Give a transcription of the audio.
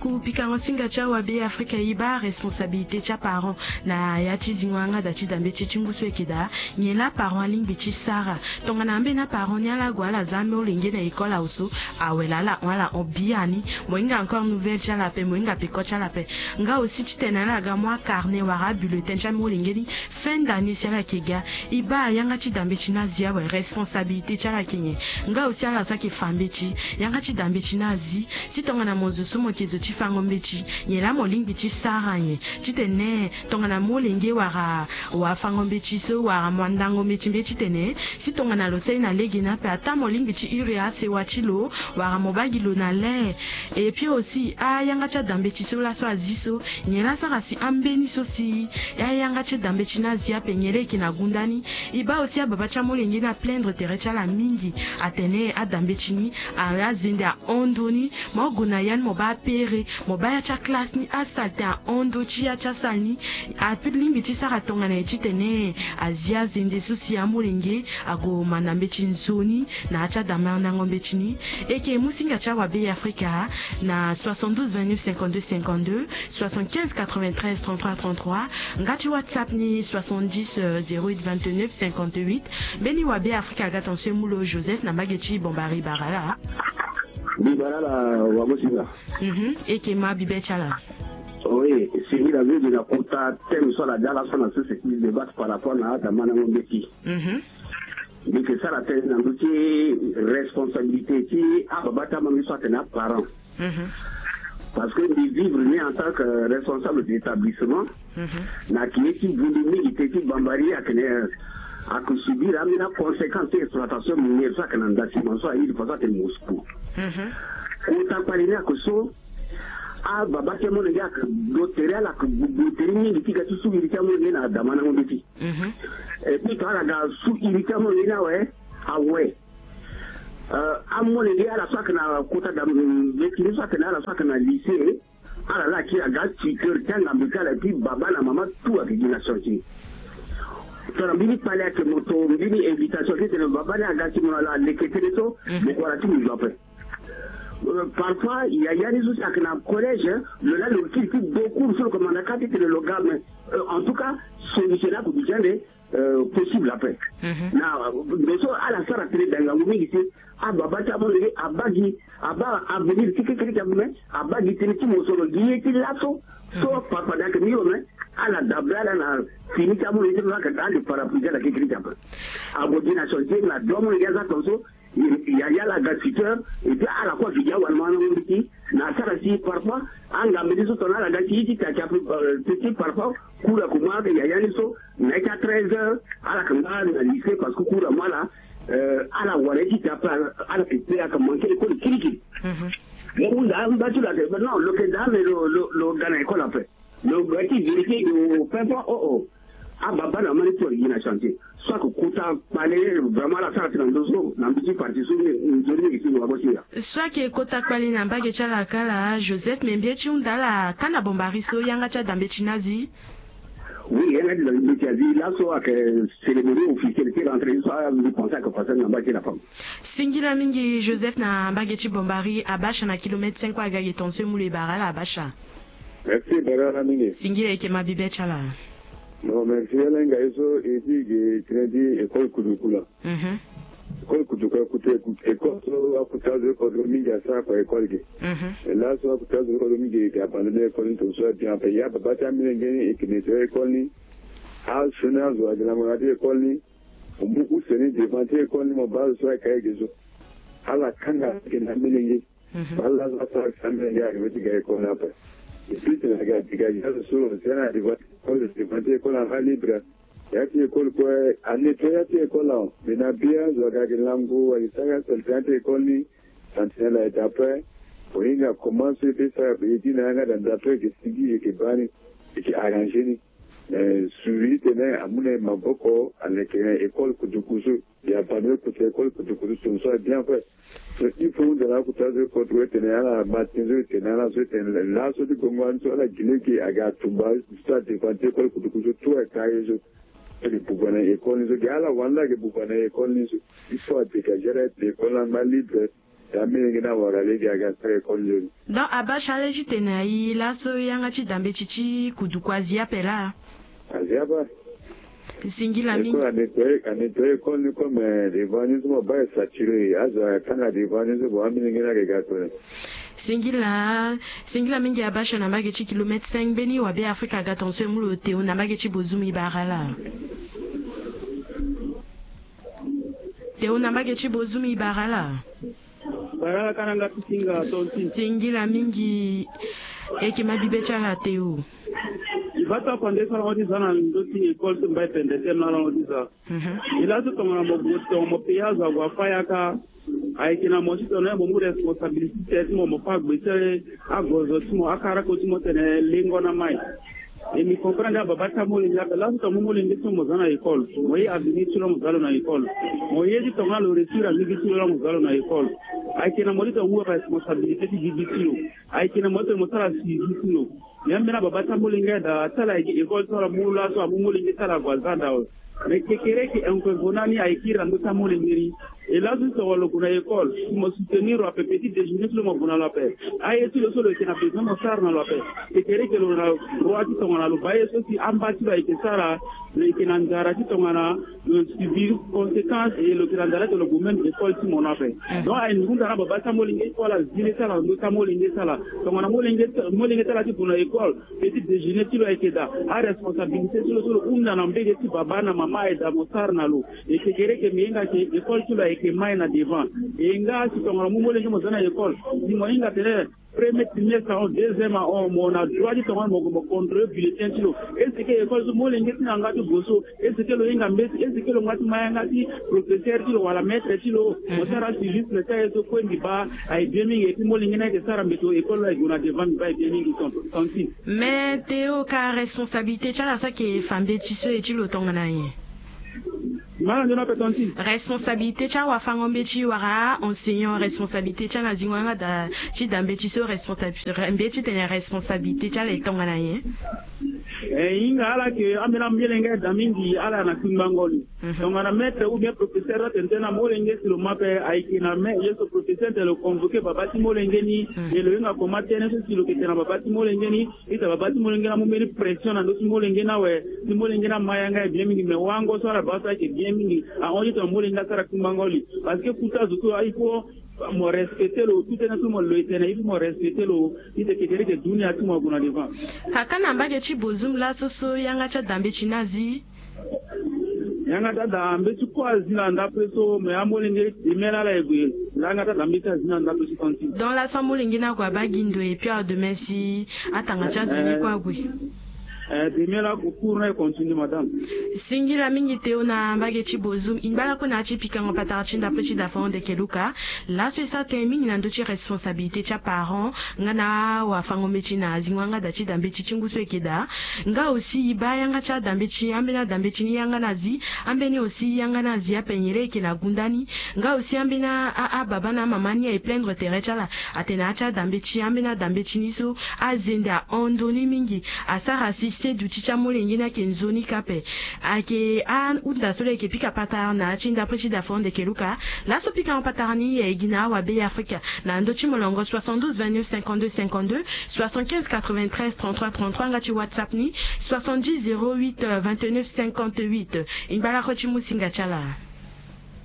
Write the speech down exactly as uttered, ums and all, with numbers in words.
Ku pikango singa ti awabe Afrika e baa responsabilité ti aparent na ya ti zingo yanga da ti dambe ti e ti ngu so eke daa. Nyen laa parent alingbi ti sara? Tongana ambeni aparent ni ala gue ala za amolenge na école awe so, awe laa ala hon ala hon biani. Mo hinga encore nouvelle ti ala ape, mo hinga peko ti ala ape. Nga aussi titene ala ga mu acarnet wala abulletin ti amolenge ni fin d'année si ala yeke ga. E baa yanga ti dambe ti ni azi awe, responsabilité ti ala ayeke nyen? Nga aussi ala so ayeke fa mbeti, yanga ti dambe ti ni azi. Si tongana mo zo so mo yeke zo ti fango mbeti, nyen laa mo lingbi ti sara nyen? Titene tongana molenge wara wafango mbeti so wara mo andango mbeti mbeti titene si tongana lo sara ye na lege ni ape, ataa mo lingbi ti hiri asewa ti lo wara mo baa gi lo na le. Et puis aussi ayanga ti adambe ti so laso azi so, nyen laa asara si ambeni so si ayanga ti adambe ti ni azi ape, nyen laa e yeke na gunda ni? E baa aussi ababa ti amolenge ni aplaindre tere ti ala mingi, atene adambe ti ni, a- azende ahon ndö ni. Mo gue na ya ni mo baa apere, mo baa ya ti aklasse ni asalte ahon ndö ti ya ti asalle ni. Alingbi ti sara tongana nyen titene azi azende so si amolenge ague manda mbeti nzoni na ya ti adamandango mbeti ni? E yeke mu singa ti awabe Afrika na soixante-douze vingt-neuf cinquante-deux cinquante-deux, soixante-quinze quatre-vingt-treize trente-trois trente-trois, nga ti WhatsApp ni soixante-dix zéro huit vingt-neuf cinquante-huit. Mbeni wabe Afrika aga tongaso e mu lo Joseph na mbage ti Bombari Barala. Mbi bara ala wagosinga. Mhm, e yeke ma bibe ti ala. Oui, si mbi la veu de na kota thème so ala dia laso na so c'est qui débat par rapport na adamandango mbeti. Mhm. Mbi yeke sara tënë na ndö ti responsabilité ti ababa ti amolenge so atene aparent. Mhm. Parce que mbi vivre ni en tant que responsable d'établissement. Mhm. Na yeke ye ti vundu mingi te ti Bambari ayeke na, ayeke subir ambeni aconséquence ti exploitation minière so ayeke na nda ciment so aye de façon ayeke Moscou. Mhm. Kota kpale ni ayeke so, ababa ti amolenge ayeke do tere, ala yeke gbogbo tere mingi ti ga ti su iri ti amolenge na adamandango mbeti. Mhm. Et puis tongana ala ga su iri ti amolenge ni awe, awe. Euh, amolenge ala so ayeke na kota da mbeti ni so ayeke na ala so ayeke na lycée, ala laa akiri aga tuteur ti angambe ti ala, et puis baba na mama tout ayeke gi na chantier. Tongana mbeni kpale ayeke mo to mbeni invitation ti tene baba ni aga ti mo na lo aleke tënë so, mhm, mo gue ala ti mo zo ape. Euh, parfois yaya ni so si ayeke na collège, lo laa lo kiri ti do cours so lo yeke manda kâ ti tene lo ga, mais, euh, en tout cas solution ni akoduti ande, euh, possible ape. Mhm. Na, euh, ndo so ala sara tënë da ngangu mingi si ababa ti amolenge abaa gi, abaa avenir ti kekereke ape, mais abaa gi tënë ti mosoro gi ye ti laso. So, mhm, papa da ayeke mûr, mais ala dabe ala na fini ti amolenge ti lo so ayeke daa ande parapluie ti ala kekereke ape. Ague gi na chantier na do amolenge aza tongaso. Yaya ala ga tuteur, et puis ala kue ayeke gi awandamandango mbeti. Na asara si parfois angambe ni so tongana ala ga ti ye ti taki ape, euh, ti parfois cours ayeke mu ayeke yaya ni so na ye ti a treize heures ala yeke nga na lycée parce que cours amu ala, euh, ala wara ye ti taki ape, ala yeke pe ayeke manquer école kirikiri. Mhm. Mo hunda amba ti lo ayeke non, lo yeke daa mais lo, lo, lo ga na école ape. Lo ga ti vérifier au fin fond, oh oh. Ababa na mama ni tout ayeke gi na chantier. So ayeke kota kpale, vraiment ala sara tënë na ndö so na mbi ti parti so ni nzoni mingi ti wagosinga. So ayeke kota kpale na mbage ti ala kala Joseph, me mbi ye ti hunda ala kâ na Bombari so yanga ti adambe ti ni azi. Oui, yanga ti adambe ti azi laso ayeke cérémonie officielle ti rentrée so mbi pense ayeke passé na mbage ti la femme. Singila mingi Joseph na mbage ti Bombari, Abasha na kilomètre cinq kue aga ge tongaso e mu lo e bara ala Abasha. Merci, bara ala mingi. Singila, e yeke ma bibe ti ala. Bon, merci ala hinga ye so e ti ge tënë ti école kuduku la. Mhm. École kuduku, école so akuta zo kodro mingi asara kua école ge. Mhm. E laso akuta zo kodro mingi e yeke abandonner école ni tongaso abian ape. Ya baba ti amolenge ni e yeke nettoyer école ni. Asioni azo ayeke lango na ya ti école ni. Mo mu use ni devant ti école ni mo baa azo so ayeke aye ge so. Ala kanga ayeke na amolenge. Mhm. Ala so asara si amolenge ayeke ti ga école ni ape. Et puis tene ayeke dégager azo so si ana devant ti école, devant ti école ni ala libre. Ya ti école kue anettoyer ya ti école awe. Mais na be azo ayeke lango ayeke sara saleté ya ti école ni. Sentinelle ayeke ape. Mo hinga comment so e peut sara, e gi na yanga da nda so e yeke sigi e yeke baa ni, e yeke arranger ni. Eh, suivi titene amu na e maboko aleke na école kutuku so. Ya baa ni kota école kutuku so tongaso abien kue. So il faut hunda na akota so e kota kue titene ala matin so e tene ala so e tene laso ti gongo ani so ala gi lege aga tumba so adevant ti école kutuku so tout ayeke aye so. Ayeke buba na école ni so gi ala wani la ayeke buba na école ni so. Il faut adégager ala ti école ni angba libre. Amilenge ni awara lege aga sara école nzoni. Donc abasha lege ti tene aye laso yanga ti dambe ti ti kuduku azi ape laa. Azi ape. Singila mingi. École a nettoyer, a nettoyer école ni comme devant ni so mo baa e saturé, azo atanga devant ni so, bon, amilenge ni ayeke ga tene. Singila, singila mingi abasha na mbage ti kilomètre cinq mbeni wa Bêafrika aga tongaso e mu lo teu na mbage ti bozumu e bara laa. Teu na mbage ti bozumu e bara laa. Bara laa ka na nga ti singa tonti. Singila mingi. E yeke ma bibe ti ala teu. E baa ti afa nde so ala hon ti za na ndö ti école so mbai pende tene na ala hon ti za. Mhm. E laa so tongana mo gue tongana mo payé azo ague afâ yaka. Ayeke na mo ti tongana mo mu responsabilité ti mo, mo fâ gbe ti agozo ti mo, akarako ti mo tene lengo na mai. E mi comprendre ababa ti amolenge ape. Laso tongana mo molenge ti mo mo za na école, mo ye avenir ti lo la mo za lo na école. Mo ye ti tongana lo réussir avenir ti lo la mo za lo na école. Ayeke na mo ti tongana mo mu responsabilité ti bibi ti lo. Ayeke na mo ti tongana mo sara suivi ti lo. Mais ambeni ababa ti amolenge daa ti ala ayeke école so ala mu laso amu molenge ti ala ague aza daa awe. Mais kekereke inconvenant ni ayeke iri na ndö ti amolenge ni. E laso ti tongana lo gue na école, si mo soutenir lo ape, petit déjeuner ti lo mo gue na lo ape. Aye ti lo so lo yeke na besoin mo sara na lo ape. Kekereke lo na droit ti tongana lo baa ye so si amba ti lo ayeke sara, lo yeke na nzara ti tongana lo subir conséquence, e lo yeke na nzara ti lo gue même école ti mo ni ape. Mhm. Donc aye ni hunda na baba ti amolenge ti ala, zi le ti ala na ndö ti amolenge ti ala. Tongana molenge ti, molenge ti ala ti gue na école, petit déjeuner ti lo ayeke daa, aresponsabilité ti lo so lo hunda na mbege ti baba na mama aye daa mo sara na lo. E kekereke mo hinga ke école ti lo ayeke mai na devant. E nga si tongana mo molenge mo za na école, si mo hinga tene premier trimestre ahon, deuxième ahon, mo na droit ti tongana mo, mo contrôler bulletin ti lo. Est-ce que école so molenge ti na yanga ti gue so, est-ce que lo hinga mbeti, est-ce que lo nga ti ma yanga ti professeur ti lo wala maître ti lo? Mo sara suivi ti aye so kue mbi baa aye bien mingi. Et puis molenge ni ayeke sara mbeto, école lo aye gue na devant, mbi baa aye bien mingi. Ton, ton ti. Mais Théo, ka responsabilité ti ala so ayeke fa mbeti so e ti lo tongana nyen? Mbi ma na nzoni ape ton ti. Responsabilité ti awafango-mbeti wala enseignant, responsabilité ti ala na zingo yanga daa ti da mbeti so, responsabilité, mbeti tene responsabilité ti ala e tongana nyen? E hinga ala ke ambeni amolenge daa mingi ala na kpingbango ni. Mhm. Tongana maître ou bien professeur atene tënë na molenge si lo ma ape, ayeke na me ye so professeur tene lo convoquer baba ti molenge ni. Mhm. E lo hinga comment tënë so si lo yeke tene na baba ti molenge ni, ita baba ti molenge ni amu mbeni pression na ndö ti molenge ni awe. Si molenge ni ama yanga e bien mingi, mais wango so ala baa so ayeke bien mingi. Ahon ti tongana molenge asara kpingbango li. Parce que kota zo so il faut mo respecter lo, tout tënë so mo lo e tene il faut mo respecter lo. Ita kekereke dunia ti mo ague na devant. Kaka na mbage ti bozoum laso so yanga ti ada mbeti ni azi. Yanga ti ada mbeti kue azi na ndapre so, mais amolenge demi ala e gue. Yanga ti ada mbeti azi na ndapre so ton ti. Donc laso amolenge ni ague abaa gi ndo et puis à demain si atanga ti azo ni kue ague. Eh, demi ala ague, cours ni e continue, madame. Singila mingi Théo na mbage ti bozoum. E ngba lakue na ya ti pikango patara ti ndapre ti da fango ndeke luka. Laso e sara tënë mingi na ndö ti responsabilité ti aparent nga na awafango-mbeti na zingo yanga da ti da mbeti ti ngu so e yeke daa. Nga aussi e baa yanga ti ada mbeti, ambeni ada mbeti ni yanga ni azi, ambeni aussi yanga ni azi ape nyen laa e yeke na gunda ni. Nga aussi ambeni a, a, ababa na amama ni aye plaindre tere ti ala, atene a ti ada mbeti, ambeni ada mbeti ni so azende ahon ndo ni mingi, asara si seduti ti amolenge ni ayeke nzoni kâ ape. Ayeke ahunda so lo yeke pika patara na ya ti ndapre ti da fango ndeke luka. Laso pikango patara ni e gi na awa Bêafrika na ndö ti molongo soixante-douze vingt-neuf cinquante-deux cinquante-deux, soixante-quinze quatre-vingt-treize trente-trois trente-trois, nga ti WhatsApp ni soixante-dix zéro huit vingt-neuf cinquante-huit. E ngba lakue ti mu singa ti ala.